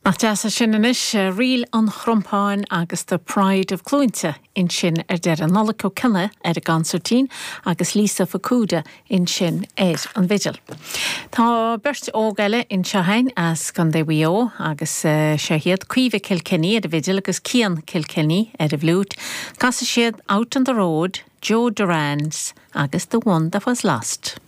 Nach deas é sin anois, Ríl an Chrompáin agus The Pride of Cluainte ansin ar deireadh. Nollaig Ó Cionnaith ar an gconsairtín agus Lisa Fukuda ansin ar an bhfidil. Tá beirt óg eile anseo againn as Contae Mhaigh Eo agus seo iad Caoimhe Kilkenny ar an bhfidil agus Cian Kilkenny ar an bhfliúit. Casfaidh siad Out on the Road, Joe Durans agus The One That Was Lost.